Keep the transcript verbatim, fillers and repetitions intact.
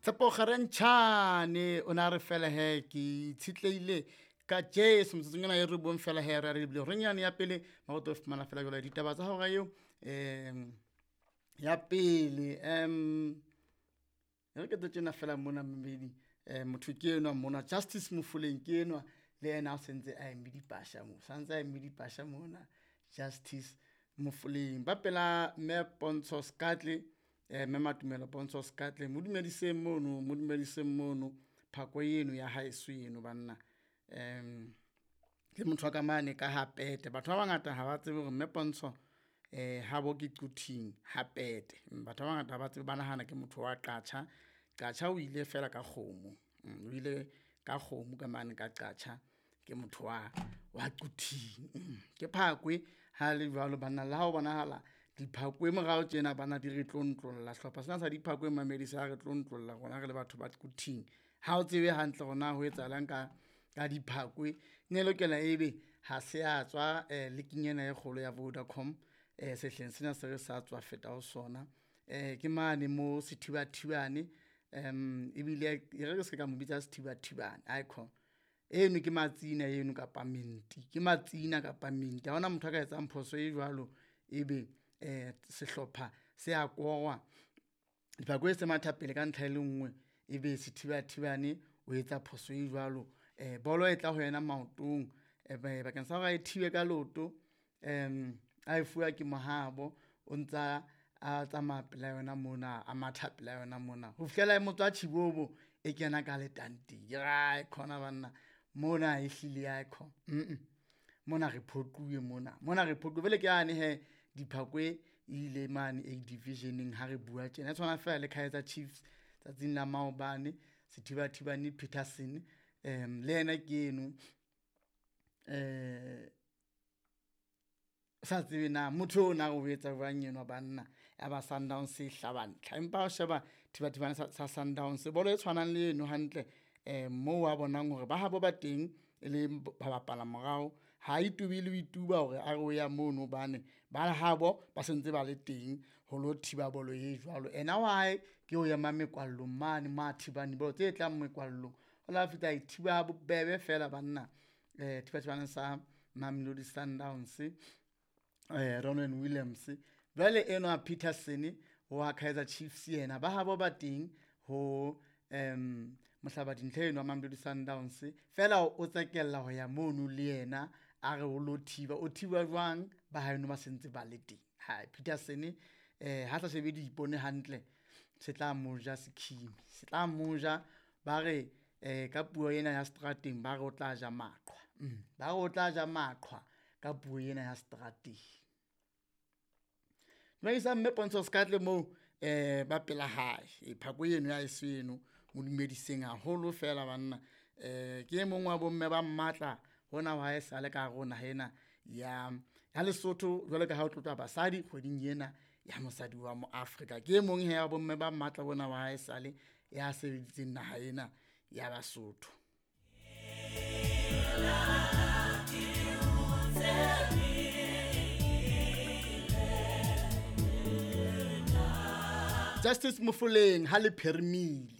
Tshepo Kgarentjhane o na re fela he ke itshitlehile ka Jesu motsotsong ena e re buang fela he re re lebile horeng yane ya pele maroto o fumana fela jwale ditaba tsa hora eo um ya pele um re ke tjena fela mona mmedi um motho ke enwa mona Justice Mofoleng ke enwa le yena o sentse a eme dipasha mo santse a eme dipasha mona Justice Mofoleng ba pela mme Pontsho Skatle eh mme Matumelo Pontsho Skatle mo dumediseng mono mo dumediseng mono phako eno ya haeso eno banna um ke motho wa ka mane ka ha pete batho ba bangata ha ba tsebe hore mme Pontsho eh habo ke Quthing ha pete batho ba bangata ha ba tsebe ba nahana ke motho wa Qacha. Qacha o ile fela ka kgomo o ile ka kgomo ka mane ka Qacha ke motho wa wa Quthing ke phakwe ha le jwalo banna le ha o bonahala diphakwe morao tjena bana di re tlontlolla sehlopha sena sa diphakwe mamedi sa re tlontlolla rona re le batho ba Quthing ha o tsebe hantle rona ho etsahalang ka ka diphakwe ne lokela ebe ha se a tswa eh league ena e kgolo ya Vodacom eh sehleng sena se re sa tswa feta ho sona eh ke mane mo Sethibathibane um ebile e re se ka mo bitsa Sethibathibane icon eno ke matsina eno kapa menti ke matsina kapa menti ha hona motho a ka etsang phoso e jwalo ebe eh sehlopha se a korwa diphakwe se matha pele ka ntlha e le nngwe ebe Sethibathibane o etsa phoso e jwalo eh bolo e tla ho yena maotong eh bakeng sa hore a e thibe ka loto um a e fuwa ke Mohabo o ntsa a tsamaya pela yona mona a matha pela yona mona ho fihlela e motswa Chibobo e kena ka letanteng ke ra khona banna mona e hlile ya kho mm mona re phoquwe mona mona re phoquwe bele ke yane he diphakwe ile mane A divisioneng ha re bua tjena e tshwana fela le Kaizer Chiefs tsatsing la maobane Sethibathibane Peterson um le yena ke eno eh sa tsebe na motho o na o etsa jwang enwa banna ya ba Sundowns e hlaba ntlha empa o sheba Thibathibane sa Sundowns bolo e tshwanang le eno hantle eh mo wa bonang hore ba habo ba teng e le ba bapala morao ha itubile o ituba hore a re o ya mono bane ba habo ba sentse ba le teng ho lo thiba bolo e jwalo ena wa hae ke o ema mekwallong mane ma thibane bolo tse tlang mekwallong o la fihla e thiba bobebe fela banna eh Thibathibane sa Mamelodi Sundowns eh Ronwen Williams jwale enwa Peterson wa Kaizer Chiefs yena ba habo ba teng ho um mohlaba dintlha eno wa Mamelodi Sundowns fela o tsekella ho ya mono le yena a re o lo thiba o thiba jwang ba haeno ba sentse ba le teng ha Peterson eh ha sa shebe diipone hantle se tla moja sekhimi se tla moja ba re eh ka puo ena ya strateng ba re o tla ja maqhwa ba re o tla ja maqhwa ka puo ena ya strateng Dumedisa mme Pontsho Skatle moo eh ba pela hae e phako eno ya eseno mo dumediseng haholo fela banna eh ke e mong wa bomme ba mmatla hona wa e sale ka rona hena ya ya Lesotho jwalo ka ha o tlotla basadi kgweding ena ya mosadi wa mo Afrika ke e mong he ya bomme ba mmatla bona wa e sale ya sebeditseng naha ena ya Basotho. Justice Mofoleng ha le phermile.